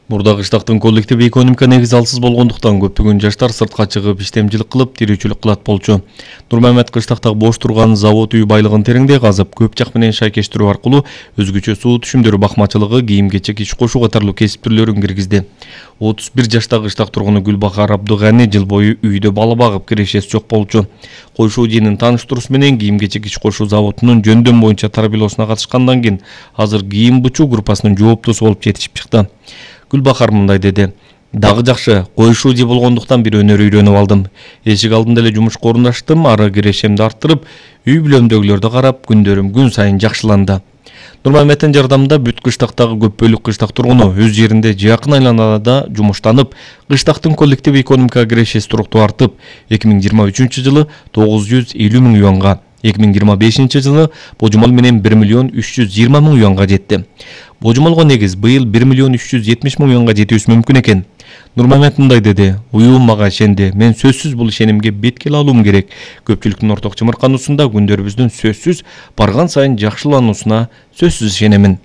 Мурда кыштактын коллектив экономика негизи алсыз болгондуктан көптөгөн жаштар сыртка чыгып иштемчилик кылып тирүүчүлүк кылат болчу. Нурмамет кыштакта бош турган завод үй байлыгын тереңдей казып, көп жак менен шайкештирүү аркылуу өзгөчө суу түшүмдөрү бакмачылыгы, кийим-кечек иш кошуу катарлуу кесип түрлөрүн киргизди. 31 жаштагы кыштак тургуну Гүлбахар Абдыганы жыл бою үйдө бала багып кирешеси жок болчу. Койшуу жыйынын тааныштыруусу менен кийим-кечек иш кошуу заводунун жөндөм боюнча тарбиялоосуна катышкандан кийин азыр кийим бучуу группасынын жооптусу болуп жетишип чыкты. Гүлбахар мындай деди: "Дагы жакшы, коюшуу жи болгондуктан бир өнөр үйрөнүп алдым. Эшик алдында эле жумушка орундаштым, ары кирешемди арттырып, үй бүлөмдөгүлөрдү карап, күндөрүм күн сайын жакшыланды." Нурмаметтин жардамында бүт кыштактагы көп бөлүк кыштак тургуну өз жеринде жакын айланада жумуштанып, кыштактын коллектив экономикага кирешеси туруктуу артып, 2023 жылы 950 миң юанга, 2025 жылы божомол менен 1 миллион 320 миң юанга жетти. Божомолго негиз быйыл 1 миллион 370 миң юанга жетүүсү мүмкүн экен. Нурмамет мындай деди: "Уюм мага ишенди. Мен сөзсүз бул ишенимге беткел алуум керек. Көпчүлүктүн орток чымыркануусунда күндөрүбүздүн сөзсүз барган сайын жакшылануусуна сөзсүз ишенемин."